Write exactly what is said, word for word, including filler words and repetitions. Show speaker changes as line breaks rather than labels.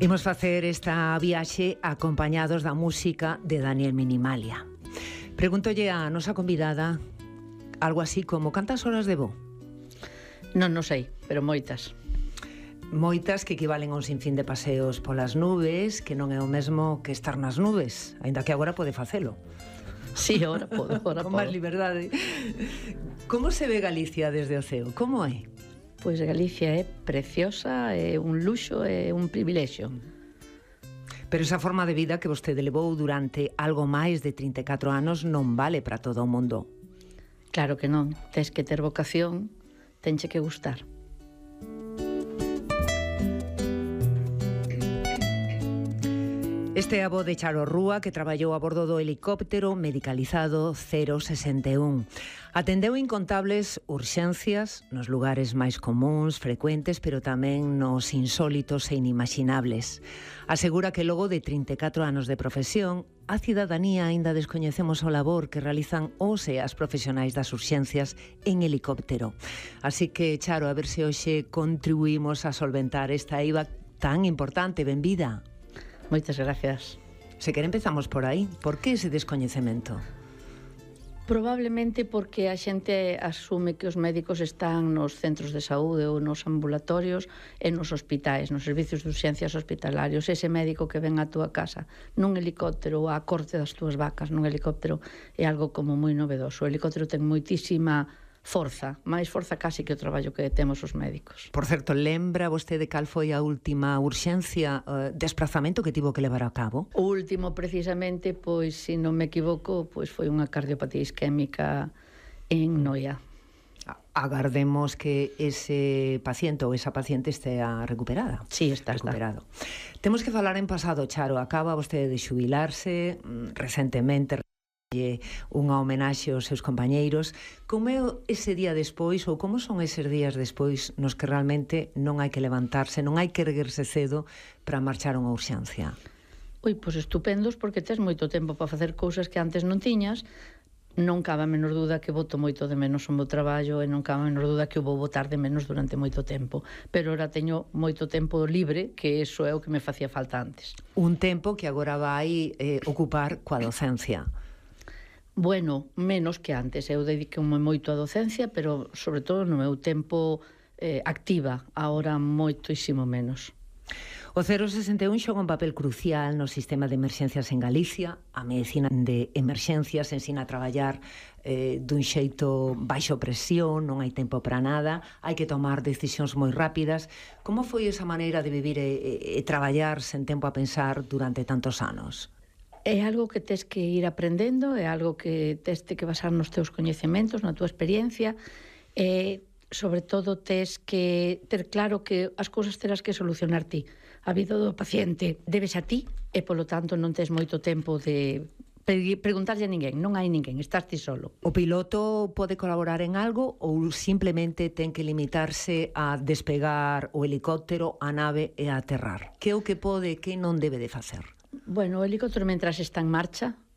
Imos facer esta viaxe acompañados da música de Daniel Minimalia. Pregúntolle a nosa convidada algo así como cantas horas de voo?
Non, non sei, pero moitas.
Moitas que equivalen a un sinfín de paseos polas nubes, que non é o mesmo que estar nas nubes, aínda que agora pode facelo.
Sí, agora podo, agora
Con
podo.
máis liberdade. Como se ve Galicia desde o ceo? Como é?
Pois Galicia é preciosa, é un luxo, é un privilexio.
Pero esa forma de vida que vostede levou durante algo máis de trinta e catro anos non vale para todo o mundo.
Claro que non, tes que ter vocación, tenche que gustar.
Este é a voz de Charo Rúa, que traballou a bordo do helicóptero medicalizado cero sesenta e un. Atendeu incontables urxencias nos lugares máis comuns, frecuentes, pero tamén nos insólitos e inimaginables. Asegura que logo de trinta e catro anos de profesión, a cidadanía aínda descoñecemos o labor que realizan os e as profesionais das urxencias en helicóptero. Así que, Charo, a ver se hoxe contribuímos a solventar esta eiva tan importante. Benvida.
Moitas gracias.
Se quere empezamos por aí. Por que ese descoñecemento?
Probablemente porque a xente asume que os médicos están nos centros de saúde ou nos ambulatorios e nos hospitais, nos servicios de urxencias hospitalarios. Ese médico que ven á túa casa nun helicóptero ou á corte das túas vacas nun helicóptero é algo como moi novedoso. O helicóptero ten moitísima forza, máis forza casi que o traballo que temos os médicos.
Por certo, lembra vostede cal foi a última urxencia, uh, desplazamento que tivo que levar a cabo?
O último, precisamente, pois, se non me equivoco, pois foi unha cardiopatía isquémica en Noia.
Agardemos que ese paciente ou esa paciente estea recuperada.
Sí, está,
recuperado. Está. Temos que falar en pasado, Charo. Acaba vostede de xubilarse recentemente, unha homenaxe aos seus compañeiros. Como é ese día despois, ou como son eses días despois nos que realmente non hai que levantarse, non hai que erguerse cedo para marchar a unha urxencia?
Ui, pois estupendos, porque tes moito tempo para facer cousas que antes non tiñas. Non cabe a menor duda que boto moito de menos o meu traballo e non cabe a menor duda que o vou botar de menos durante moito tempo. Pero ora teño moito tempo libre, que iso é o que me facía falta antes.
Un tempo que agora vai eh, ocupar coa docencia.
Bueno, menos que antes. Eu dedico-me moito á docencia, pero sobre todo no meu tempo eh, activa, agora moitísimo menos.
O cero sesenta e un xoga un papel crucial no sistema de emerxencias en Galicia. A medicina de emerxencias ensina a traballar eh, dun xeito baixo presión, non hai tempo para nada, hai que tomar decisións moi rápidas. Como foi esa maneira de vivir e, e, e traballar sen tempo a pensar durante tantos anos?
É algo que tes que ir aprendendo, é algo que tes que basar nos teus coñecementos, na túa experiencia, e sobre todo tes que ter claro que as cousas terás que solucionar ti. A vida do paciente debes a ti e, polo tanto, non tes moito tempo de preguntarlle a ninguén, non hai ninguén, estás ti solo.
O piloto pode colaborar en algo ou simplemente ten que limitarse a despegar o helicóptero, a nave e a aterrar? Que é o que pode e que non debe de facer?
Bueno, o helicóptero, mentras está en marcha,